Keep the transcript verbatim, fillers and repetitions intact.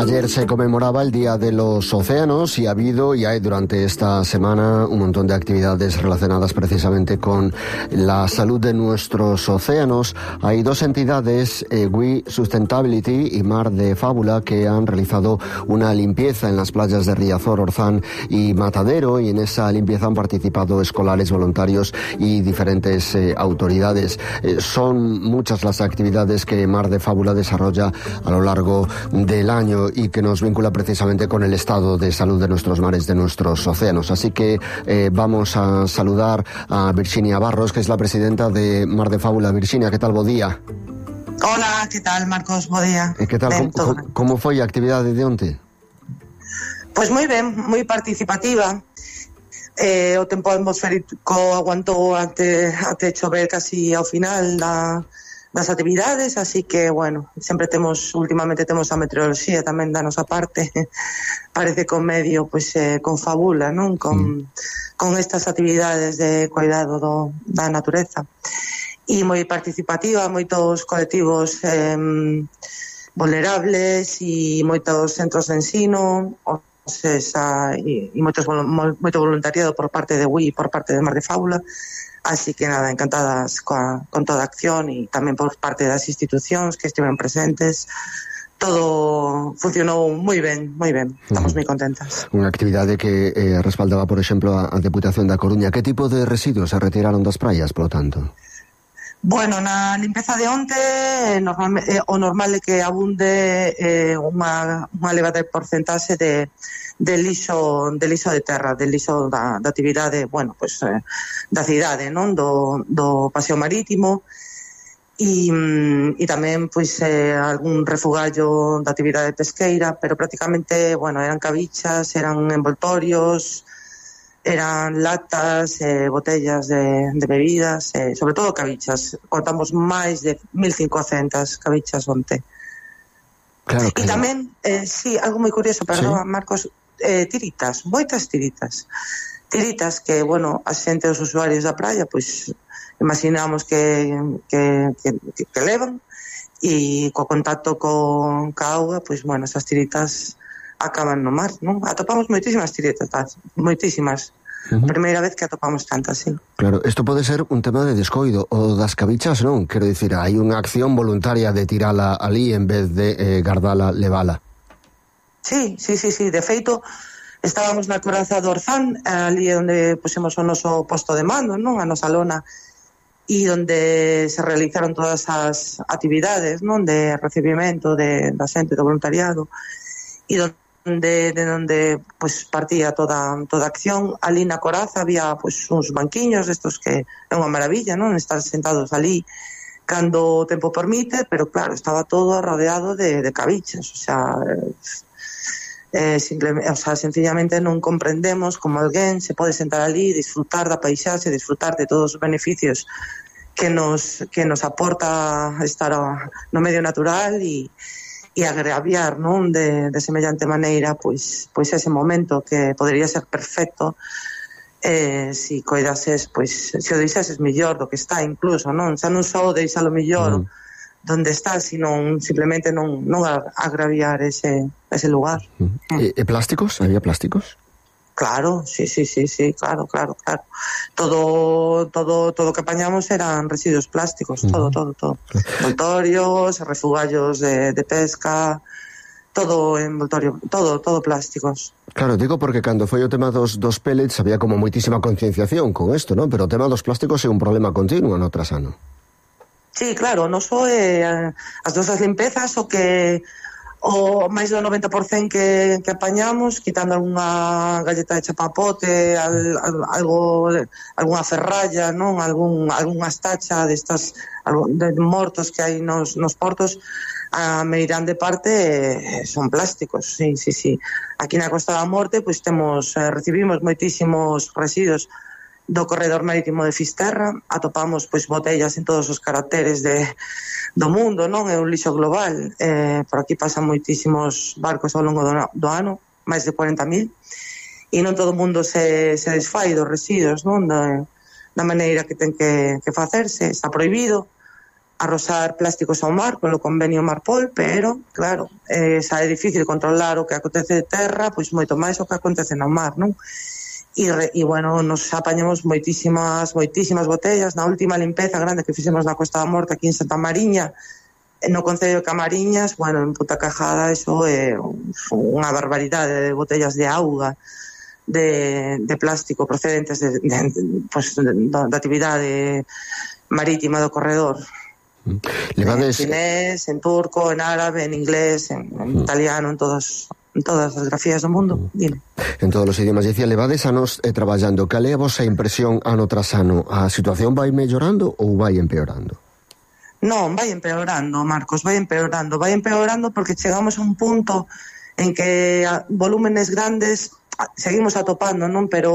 Ayer se conmemoraba el Día de los Océanos y ha habido y hay durante esta semana un montón de actividades relacionadas precisamente con la salud de nuestros océanos. Hay dos entidades, eh, We Sustainability y Mar de Fábula, que han realizado una limpieza en las playas de Riazor, Orzán y Matadero, y en esa limpieza han participado escolares, voluntarios y diferentes eh, autoridades. Eh, son muchas las actividades que Mar de Fábula desarrolla a lo largo del año y que nos vincula precisamente con el estado de salud de nuestros mares, de nuestros océanos. Así que eh, vamos a saludar a Virginia Barros, que es la presidenta de Mar de Fábula. Virginia, ¿qué tal? Bo día. Hola, ¿qué tal, Marcos? Bo día. Eh, ¿Qué tal? Ben, como, como foi a actividade de onte? Pois moi ben, moi participativa. Eh, o tempo atmosférico aguantou ante, ante chover casi ao final da das actividades, así que, bueno, sempre temos, últimamente temos a meteoroloxía tamén da nosa parte, parece que o medio, pois, eh, confabula, non? Con, mm. con estas actividades de cuidado do, da natureza. E moi participativa, moitos colectivos eh, vulnerables e moitos centros de ensino, o sea, e, e moitos, moito voluntariado por parte de We e por parte de Mar de Fábula. Así que nada, encantadas coa, con toda a acción e tamén por parte das institucións que estiveron presentes. Todo funcionou moi ben, moi ben. Estamos moi contentas. Unha actividade que eh, respaldaba, por exemplo, a, a Deputación da Coruña. Que tipo de residuos se retiraron das praias, polo tanto? Bueno, na limpeza de onte normal, eh, o normal é que abunde eh, unha, unha elevada porcentaxe de de lixo, de lixo de terra, de lixo da, da actividade, bueno, pues, eh, da cidade, non? Do, do paseo marítimo e, e tamén, pois, eh, algún refugallo da actividade pesqueira, pero prácticamente, bueno, eran cabichas, eran envoltorios, eran latas, eh, botellas de, de bebidas, eh, sobre todo cabichas. Contamos máis de mil cincocentas cabichas onte. Claro, claro. E tamén, eh, sí, algo moi curioso, perdón, ¿sí? Marcos, eh, tiritas, moitas tiritas. Tiritas que, bueno, a xente, os usuarios da praia, pois, imaginamos que, que, que, que levan, e co contacto con ca auga, pois, bueno, esas tiritas acaban no mar, non? Atopamos moitísimas tiritas, moitísimas. Uh-huh. Primeira vez que atopamos tantas, sí. Claro, isto pode ser un tema de descoido o das cabichas, non? Quero dicir, hai unha acción voluntaria de tirala ali en vez de eh, gardala, levala. Sí, sí, sí, sí, de feito estábamos na coraza do Orzán, ali onde pusemos o noso posto de mando, non? A nosa lona, e onde se realizaron todas as actividades, non? De recibimento de, da xente do voluntariado, e onde de onde pues partía toda toda a acción. Ali na coraza había pues uns banquiños estos que é unha maravilla, non? Estar sentados ali cando o tempo permite, pero claro, estaba todo rodeado de, de cabichas, o sea, eh, simplemente, o sea, sencillamente non comprendemos como alguén se pode sentar ali, disfrutar da paisaxe, disfrutar de todos os beneficios que nos que nos aporta estar no medio natural e e agraviar, non, de, de semellante maneira, pois, pois ese momento que podería ser perfecto, eh, si coidases, pois, se o deixases mellor do que está incluso, non, xa non só deixalo mellor mm. donde está, sino simplemente non, non agraviar ese, ese lugar. Mm. E, e plásticos? Había plásticos? Claro, sí, sí, sí, sí, claro, claro, claro. Todo, todo, todo que apañamos eran residuos plásticos, uh-huh. todo, todo, todo. Envoltorios, refugallos de, de pesca, todo envoltorio, todo, todo plásticos. Claro, digo porque cando foi o tema dos, dos pellets había como moitísima concienciación con isto, non? Pero o tema dos plásticos é un problema continuo no trasano. Sí, claro, non só eh, as nosas limpezas o que o máis do noventa por cento que, que apañamos, quitando algunha galleta de chapapote, al, al, algo, algunha ferralla, non? Algún, algunha estacha destas de mortos que hai nos, nos portos, a meirande parte eh, son plásticos, sí, sí, sí. Aquí na Costa da Morte, pois temos, eh, recibimos moitísimos residuos do corredor marítimo de Fisterra, atopamos pois botellas en todos os caracteres de do mundo, non? É un lixo global, eh, por aquí pasan moitísimos barcos ao longo do, do ano, máis de cuarenta mil, e non todo o mundo se, se desfai dos residuos, non? Da, da maneira que ten que, que facerse, está prohibido, arrosar plásticos ao mar polo convenio Marpol, pero, claro, eh, xa é difícil controlar o que acontece de terra, pois moito máis o que acontece no mar, non? E, e bueno, nos apañamos moitísimas, moitísimas botellas. Na última limpeza grande que fixemos na Costa da Morte aquí en Santa Mariña, no concello de Camariñas, bueno, en Puta Cajada, eso é unha barbaridade de botellas de auga, de, de plástico procedentes de, de, de, pues, de, de actividade marítima do corredor. Levades... En chinés, en turco, en árabe, en inglés, en, en mm. italiano, en todos, en todas as grafías do mundo. Mm. Dime. En todos os idiomas. Dicía, levades anos eh, traballando. Cal é a vosa impresión ano tras ano? A situación vai mellorando ou vai empeorando? Non, vai empeorando, Marcos, vai empeorando. Vai empeorando porque chegamos a un punto en que a volúmenes grandes seguimos atopando, non? Pero